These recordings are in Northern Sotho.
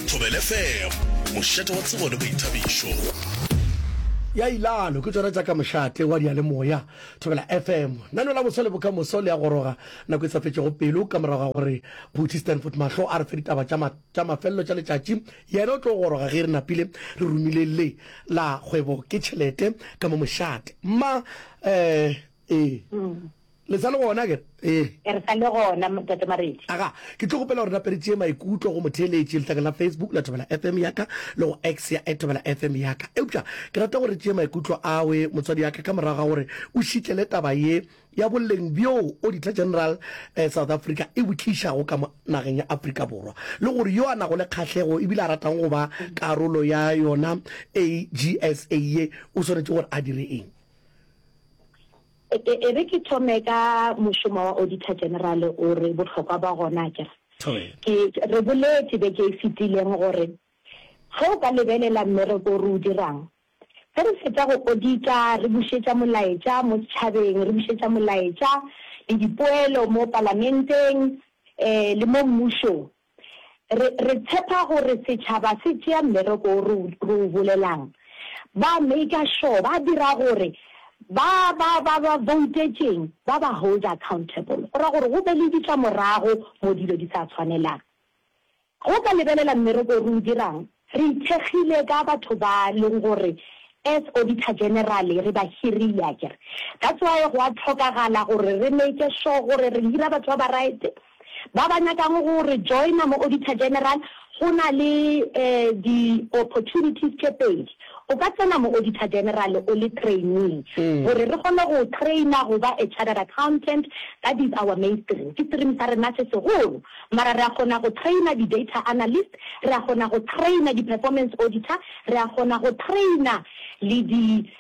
Thobela FM, mošate wa tsebo le boithabišo. Ya ilalo ke tšona tša ka mošate wa diyalemoya Thobela FM. Nano la boso le bokamoso le a goroga nako e sa fetšego pelo ka morago ga gore Phuthi Stanford Mahlo a re fe ditaba tša ma, tša mafelelo tša letšatši. Yena o tlo goroga ge re napile re romile le la kgwebo ke tšhelete ka mo mošate. Ma eh ee. Le sa le gona akere? Ee. Re sa le gona, Ntate Maredi. Aga, ke tlo kgopela gore nape re tšee maikutlo go motheeletši letlakeng la Facebook la Thobela FM ya ka le go X ya at Thobela FM ya ka. Eupša ke rata gore re tšee maikutlo awe motswadi ya ka ka morago ga gore o šitlele taba ye ya boleng bjo Auditor General eh, South Africa e bo tlišago ka mo nageng ya Afrika Borwa le gore yo a nago le kgahlego ebile a ratang go ba karolo ya yona AGSA ye o swanetše gore a dire eng. E, e re ke thome ka mošomo wa Auditor General o re bohlokwa ba gona akere. Ke, re boletše beke e fetileng gore ge o ka lebelela mmereko o re o dirang, ge re fetša go audita re bušetša molaetša mo setšhabeng, re bušetša molaetša le dipoelo mo palamenteng um le mo mmušong. Re, re tshepa gore setšhaba se tšea mmereko wo re o, re o bolelang. Ba maker sure, ba dira gore ba, ba, ba ba voutetšeng ba ba hold accountable. Go ra gore go be le ditlamorago mo dilo di sa tshwanelang. Ge o ka lebelela mmereko o re o dirang, re ithekgile ka batho ba leng gore as Auditor General re ba hirile akere. That's why go a hlokagala gore re make sure gore re hira batho ba ba right, Ba ba nyakang go re joina mo Auditor General, go na le di opportunities tše pedi. O ka tsena mo Auditor General o le trainee, gore re kgone go traina go ba a chartered accountant, that is our main stream, ke stream sa rena se segolo. Mara re a kgona go traina di data analyst, re a kgona go traina di performance auditor, re a kgona go traina le di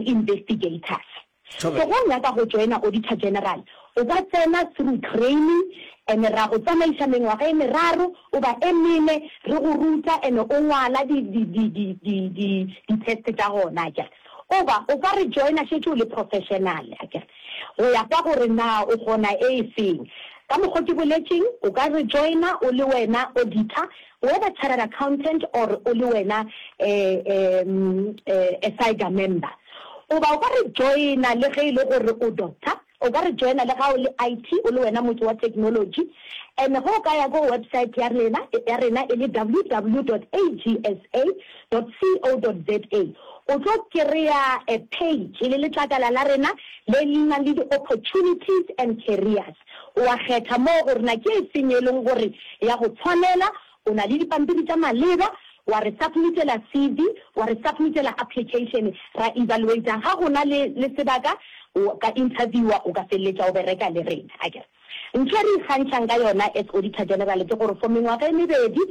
investigators. So ge o nyaka go joina Auditor General, o ka tsena through training and ra go tsamaiša mengwaga e meraro goba e mene re go ruta and o ngwala di di di di di di di test tša gona akere. Goba o ka re joina šetše o le professional akere. Go ya ka gore na o kgona e e feng. Ka mokgo ke boletšeng, o ka re joina o le wena auditor Whether chartered accountant or o le wena a SAIGA member. Goba o ka re joina le ge e le gore o doctor, o ka re joina le ga o le IT, o le wena motho wa technology. And ge o ka ya ko website ya rena, ya rena e le www dot agsa dot co dot za, o tlo kry-a a page e le letlakala la rena le le nang le di-opportunities and careers. O a kgetha moo gore na ke efeng e leng gore ya go tshwanela, o na le dipampiri tša maleba, wa re submitela CV, wa re submitela application, ra evaluata, ga go na le le sebaka, o ka interviewa, o ka feleletša o bereka le rena. Akere ntho e re ikgantšhang ka yona as Auditor General ke gore for mengwaga e mebedi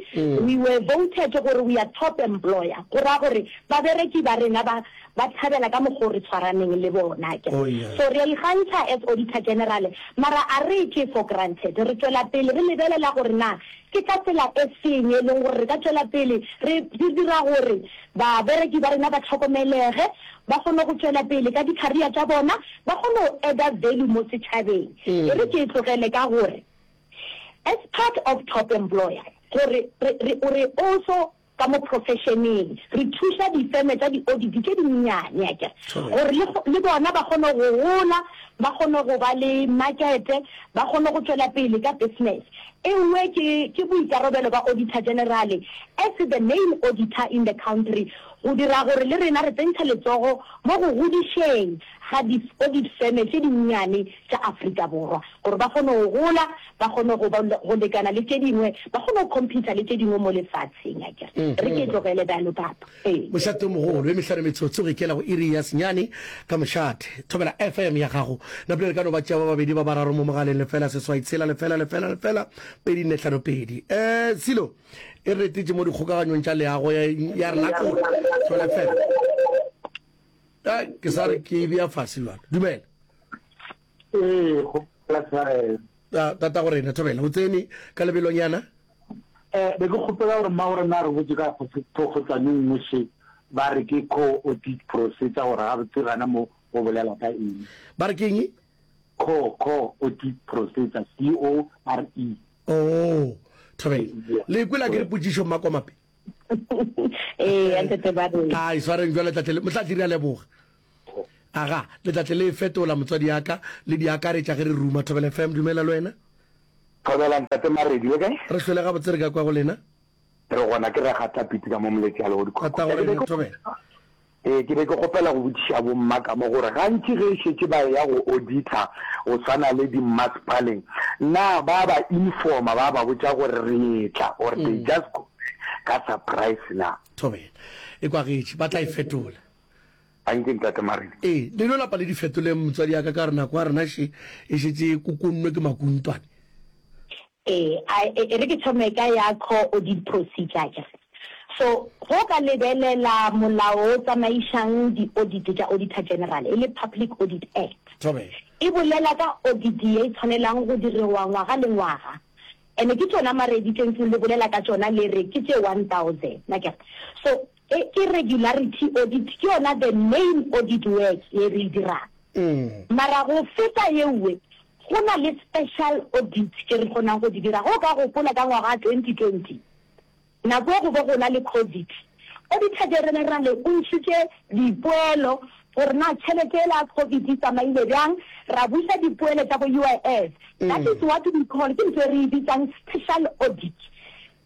we were voted gore we are top employer, go ra gore babereki ba rena ba Ba thabela ka mokgo re tshwaraneng le bona akere. Oh yeah. So re a ikgantšha as Auditor General, mara a re e tšee for granted. Re tšwela pele re lebelela gore na ke ka tsela e feng e leng gore re ka tšwela pele re re dira gore babereki ba rena ba hlokomelege, ba kgone go tšwela pele ka di-career tša bona, ba kgone go adder value mo setšhabeng. E re ke e tlogele ka gore as part of top employer gore re re re also Ka mo profesheneng, re thuša difeme tša di-audit tše dinnyane, akere, gore le, le bona ba kgone go gola, ba kgone go ba le markete, ba kgone go tšwela pele ka business. E nngwe ke, ke boikarabelo ba Auditor General as the main auditor in the country go dira gore le rena re tsentšha letsogo mo go godišeng ga di-audit feme tše dinnyane tša Afrika Borwa gore ba kgone go gola, ba kgone go ba go lekana le tše dingwe, ba kgone go compete le tše dingwe mo lefatsheng, akere. Re ke tlogele bjalo, papa. Ee. Mošate o mogolo, e mehlano metsotso go ikela go iri ya senyane ka mošate. Thobela FM ya gago. Napile re ka no ba tšea ba babedi ba bararo mo mogaleng, lefela seswai tshela lefela lefela lefela pedi nne hlano pedi. Eh, Silo e re retetše mo dikgokaganyong tša leago ya, ya rena kore. Thobela FM. Ke sa re ke e bea fase bjalo. Dumela. Ee, go tshwarelo. Tata go rena thobela o tsene ka lebelonyana. Eh, be ke kgopela gore mma gore na re botse ka phokgotsane nngwe še ba re ke co-audit procedure gore gabotse gana mo go bolela ka eng. Ba re ke eng? Co, co-audit procedure, C-O-R-E. Oh. Thobela. Le kwela ke re potšišo Mmakomape? Ee, ntate ba re. A iswareng jwale tlatle le Mohlahli re a leboga. Aga, le tlatle le e fetola motswadi ya ka le di akaretša ge re ruma Thobela FM dumela le wena. Thobela ntate Maredi le kae? Re hlwele gabotse re ka kwa go lena. Re gona ke Ragata Pitsi ka mo Moletši a lego Dikgwekgwe. Tatago rena Thobela. Ee, ke be ke kgopela go botšiša bomma ka mo gore gantši ge e šetše ba eya go auditor go swana le dimmasepaleng, na ba ba informa ba ba botša gore re etla or they just go there ka surprise na? Thobela. E kwagetše, ba tla e fetola. Anke Ntate Marina. Ee, le no lapa le di fetoleng motswadi ya ka ka gore nako ya rena še e šetše e kokonnwe ke makuntwane. Ee, a e re ke thome ka ya core audit procedure akere. So, ge o ka lebelela molao o tsamaišang di-audit tša Auditor General, e le Public Audit Act, Thobela. e bolela ka audit ye e tshwanelang go diriwa ngwaga le ngwaga. And-e ke tšona maredi tše ntseng le bolela ka tšona le re ke tše 1000, akere. So, E ke regularity audit, ke yona the main audit work ye re e dirang. Mara go feta yeuwe, go na le special audits tše re kgonang go di dira. Ge o ka gopola ka ngwaga wa 2020, nako e go be go na le Covid, Auditor General o ntšhitše dipoelo gore na tšhelete yela ya Covid e tsamaile bjang, ra buša dipoelo tša bo UIF. That is what we call, ke ntho e re e bitsang special audit.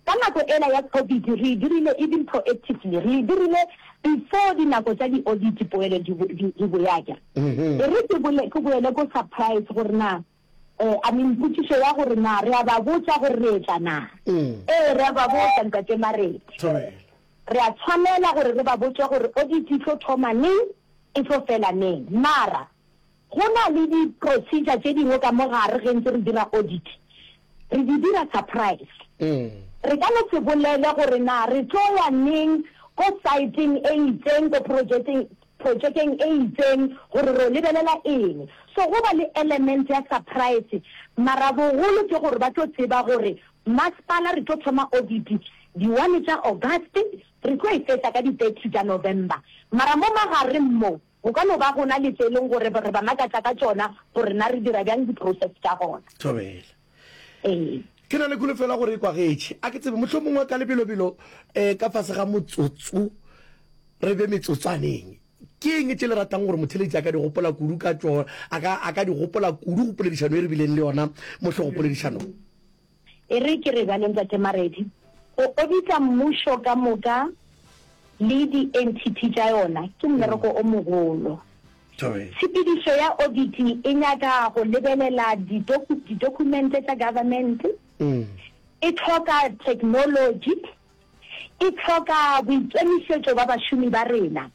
Ka nako ela ya Covid re e dirile even proactively, re e dirile before dinako tša di-audit poelo di di di boya akere. E re ke bole ke boele ko surprise gore na I mean potšišo ya gore na re a ba botša gore re etla na. Ee re a ba botša Ntate Maredi. Re a tshwanela gore re ba botše gore audit e tlo thoma neng, e tlo fela neng. Mara Go na le di procedure tše dingwe ka mo gare ge ntse re dira audit, re di dira surprise. Re ka no se bolele gore na re tlo ya neng ko site-eng e itseng, ko projecteng, projekeng e itseng gore ro lebelela eng. So go ba le element ya surprise, mara bogolo ke gore ba tlo tseba gore masepala re tlo thoma audit di one tša August, re tlo e fetša ka di 30 tša November. Mara mo magareng mo, Go ka no ba go na le tše e leng gore re ba makatša ka tšona gore na re dira bjang di-process tša gona. Thobela. Ee. Ke na le kholofelo ya gore e kwagetše. A ke tsebe, mohlomongwe ka lebelobelo um ka fase ga motsotso, re be metsotswaneng. Ke eng tše le ratang gore motheeletši a ka di gopola kudu ka tšona, a ka, a ka di gopola kudu go poledišano e re bileng le yona mo hlogopoledišanong? E re ke re bjale, Ntate Maredi, go odita mmušo ka moka le di-entity tša yona ke mmereko o mogolo. Tshepedišo ya audit e nyaka go lebelela didokumente tša government, e hloka technology, e hloka boikemišetšo ba bašomi ba rena.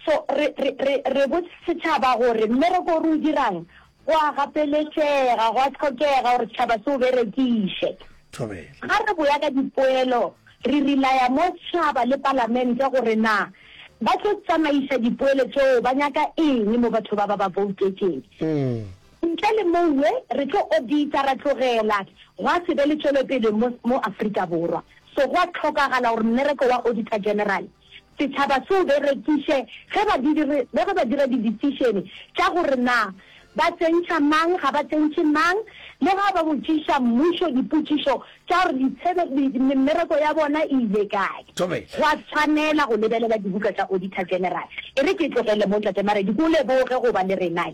So re, re, re, re botse setšhaba gore mmereko o re o dirang go a gapeletšega, go a hlokega gore setšhaba se o berekiše. Ga re boya ka dipoelo, re relaya mo setšhaba le palamente gore na ba tlo tsamaiša dipoelo tšeo, ba nyaka eng mo batho ba ba ba voutetšeng. Ntle le mowe, re tlo odita ra tlogela, gwa se be le tšwelopele mo, mo Afrika Borwa. So go a hlokagala gore mmereko wa Auditor General setšhaba se o berekiše ge ba di ge ba dira di-decision tša gore na ba tsentšha mang, ga ba tsentšhe mang, le ga ba botšiša mmušo dipotšišo tša gore ditshebe, mmereko ya bona e ile kae. Go a tshwanela go lebelela dibuka tša Auditor General. E re ke tlogele mo, Ntate Maredi, ke o leboge go ba le rena.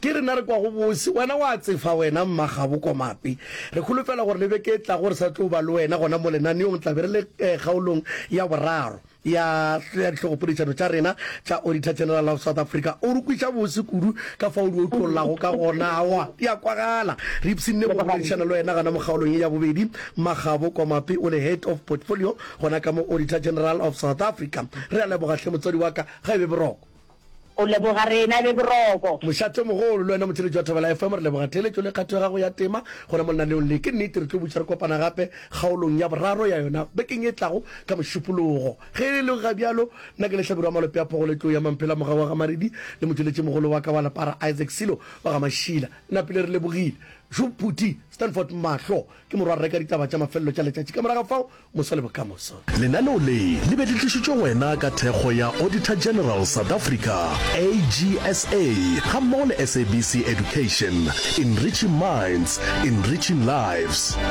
Ke rena re kwago bose. Wena wa tsefa wena Mmagabo Komape. Re kholofela gore le beke e tlago re sa tlo ba le wena gona mo lenaneong. Tla be re le kgaolong ya boraro ya ya dihlogopoledišano tša rena tša Auditor General of South Africa. O re kweša bose kudu ka fao o di otlollago ka gona. Aowa, di a kwagala. Re ipshinne go boledišana le wena gona mo kgaolong ye ya bobedi. Mmagabo Komape o le Head of Portfolio gona ka mo Auditor General of South Africa. Re a leboga hle motswadi wa ka. Ga e be boroko. O leboga rena be boroko. Mošate mogolo, le wena motheeletši wa Thobela FM, re leboga theeletšo le kgatho ya gago ya tema gona mo lenaneong le. Ke nnete re tlo buša re kopana gape kgaolong ya boraro ya yona bekeng e tlago ka Mošupologo. Ge e le ga bjalo, nna ke Lehlabirwa Malope a Phogo le Tlou ya Mamphela Mogau wa ga Maredi le motšweletšimogolo wa ka wa lepara Isaac Silo wa ga Mašila. Napile re lebogile. Šo Phuthi Stanford Mahlo ke morwarre ka ditaba tša mafelelo tša letšatši. Ka morago ga fao, Moso le bokamoso. Lenaneo le le be le tlišitšwe go wena ka thekgo ya Auditor General South Africa, AGSA, gammogo le SABC Education, enriching minds, enriching lives.